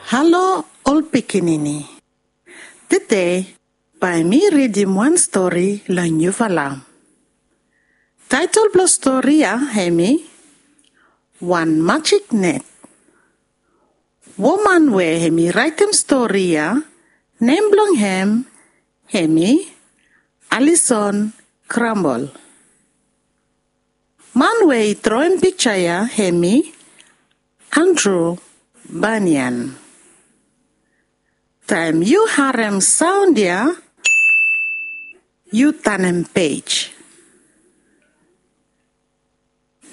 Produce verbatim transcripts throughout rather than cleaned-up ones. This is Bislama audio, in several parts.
Halo ol pikinini. Tede bae mi ridim wan stori long yufala. Taetol blong stori ya hemi Wan Majik Net. Woman we hemi raetem stori ya, nem blong hem hemi Alison Krambol. Man we i droem pikja ya hemi Andrew Banyan. Taem yu harem saon ya, yu tanem pej.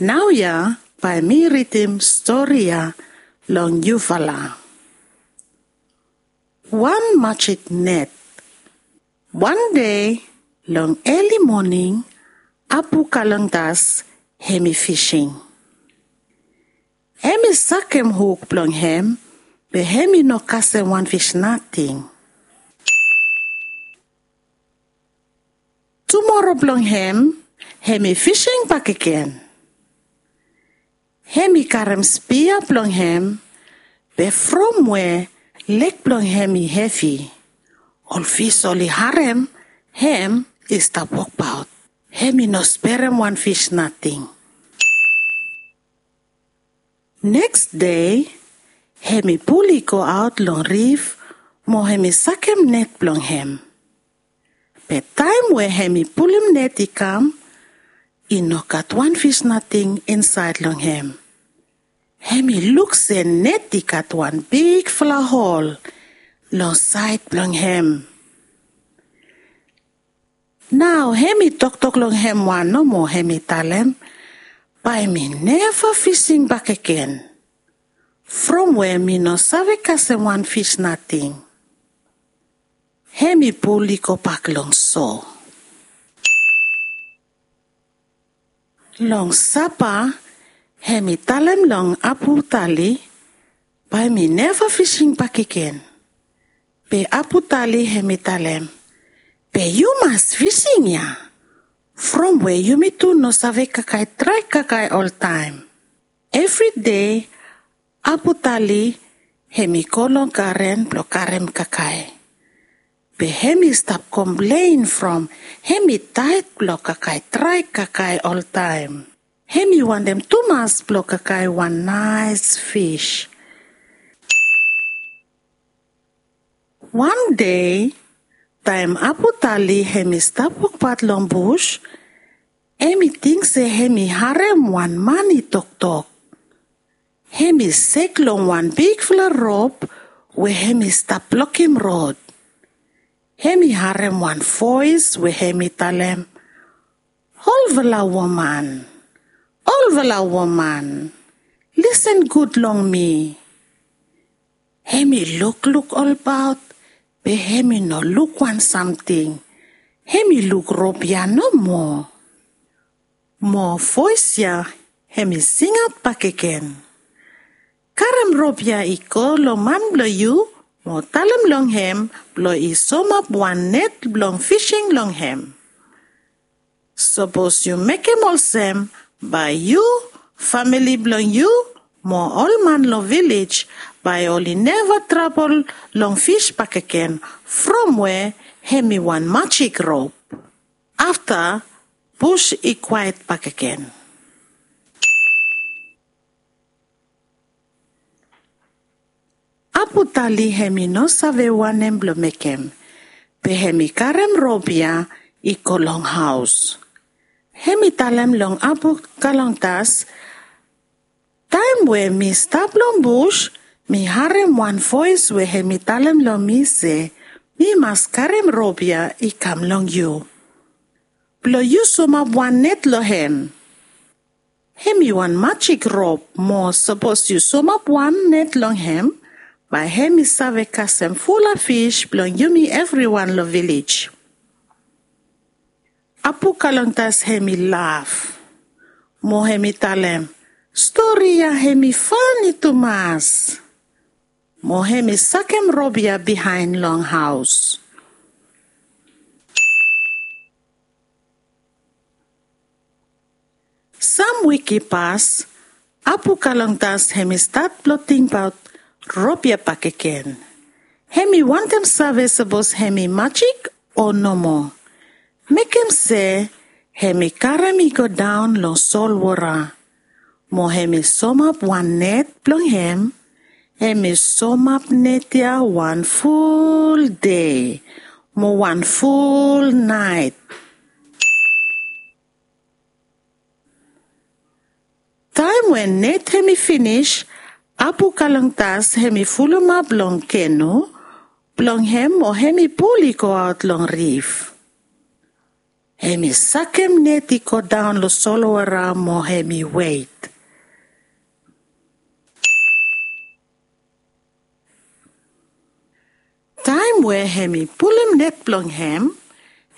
Naoia bae mi ridim stori ya long yufala. Wan Majik Net. Wan dei long eli moning, Apu Kalongtas hemi fising. Hemi sakem huk blong hem, be hemi no kasem wan fis nating. Tumoro blong hem, hemi fising bakegen. Hemi karem spia blong hem, be from we leg blong hem i hevi, ol fis oli harem hem i stap wokbaot. Hemi no sperem wan fis nating. Neks dei, hemi pul i goaot long rif mo hemi sakem net blong hem. Be taem we hemi pulum net i kam, i no gat wan fis nating insaed long hem. Hemi luk se net i gat wan bigfala hol long saed blong hem. Nao hemi toktok long hem wan nomo, hemi talem, bae mi neva fising bakegen, from we mi no save kasem wan fis nating. Hemi pul i gobak long so. Long sapa, hemi talem long Apu Tali, bae mi neva fising bakegen. Be Apu Tali hemi talem, be yu mas fising ya, from we yumi tu no save kakae drae kakae oltaem. Evri dei Apu Tali hemi go long garen blong karem kakae. Be hemi stap komplen from hemi taed blong kakae drae kakae oltaem. Hemi wantem tumas blong kakae wan naes fis. Wan dei, taem Apu Tali hemi stap wokbaot long bus, hemi ting se hemi harem wan man i toktok. Hemi sek long wan bigfala rop we hemi stap blokem rod. Hemi harem wan voes we hemi talem, "Olfala woman, olfala woman, lisen gud long mi." Hemi lukluk olbaot, be hemi no luk wan samting. Hemi luk rop ya nomo. Mo voes ya hemi singaot bakegen, "Karem rop ya i go long man blong yu, mo talem long hem blong i somap wan net blong fising long hem. Sapos yu mekem olsem, bae yu, famili blong yu, mo ol man long vilej, bae oli neva trabol long fis bakegen, from we hemi wan majik rop." Afta, bus i kwaet bakegen. Apu Tali hemi no save wanem blong mekem, be hemi karem rop ya i go long haos. Hemi talem long Apu Kalongtas, "Taem we mi stap long bus, mi harem wan voes we hemi talem long mi se mi mas karem rop ya i kam long yu, blong yu somap wan net long hem. Hemi wan majik rop, mo sapos yu somap wan net long hem, bae hemi save kasem fulap fis blong yumi evriwan long vilej." Apu Kalongtas hemi laf, mo hemi talem, "Stori ya hemi fani tumas." Mo hemi sakem rop ya bihaen long haos. Sam wik i pas, Apu Kalongtas hemi stat blong tingbaot rop ya bakegen. Hemi wantem save sapos hemi majik o nomo. Mekem se hemi karem i godaon long solwora. Mo hemi somap wan net blong hem. Hemi somap net ya wan ful dei mo wan ful naet. Taem we net hemi finis, Apu Kalongtas hemi fulumap long kenu blong hem mo hemi pul i goaot long rif. Hemi sakem net i godaon long solwora mo hemi wet. Taem we hemi pulum net blong hem,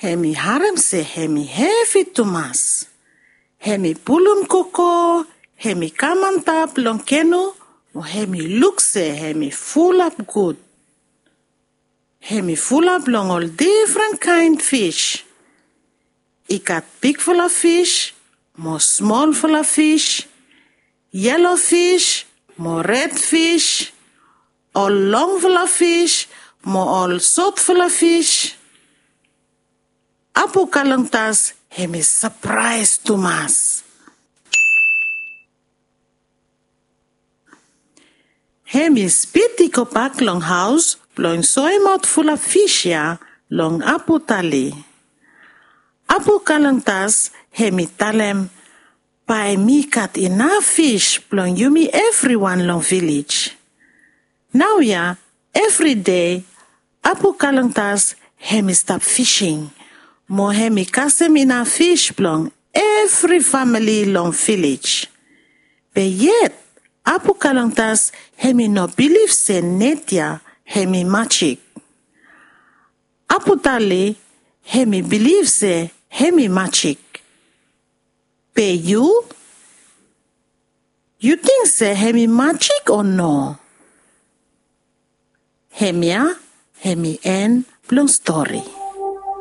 hemi harem se hemi hevi tumas. Hemi pulum gogo, hemi kam antap long kenu, mo hemi luk se hemi fulap gud. Hemi fulap long ol difren kaen fis. I gat bigfala fis mo smolfala fis, yelo fis mo red fis, ol longfala fis mo ol sotfala fis. Apu Kalongtas hemi sapraes tumas. Hemi spid i gobak long haos blong soemaot fulap fis ya long Apu Tali. Apu Kalongtas hemi talem, bae mi gat inaf fis blong yumi evriwan long vilej. Naoia, evri dei Apu Kalongtas hemi stap fising mo hemi kasem inaf fis blong evri famili long vilej. Be yet Apu Kalongtas hemi no bilif se net ya hemi majik. Apu Tali hemi bilif se hemi majik. Be yu? Yu ting se hemi majik o no? Hemia hemi en blong stori.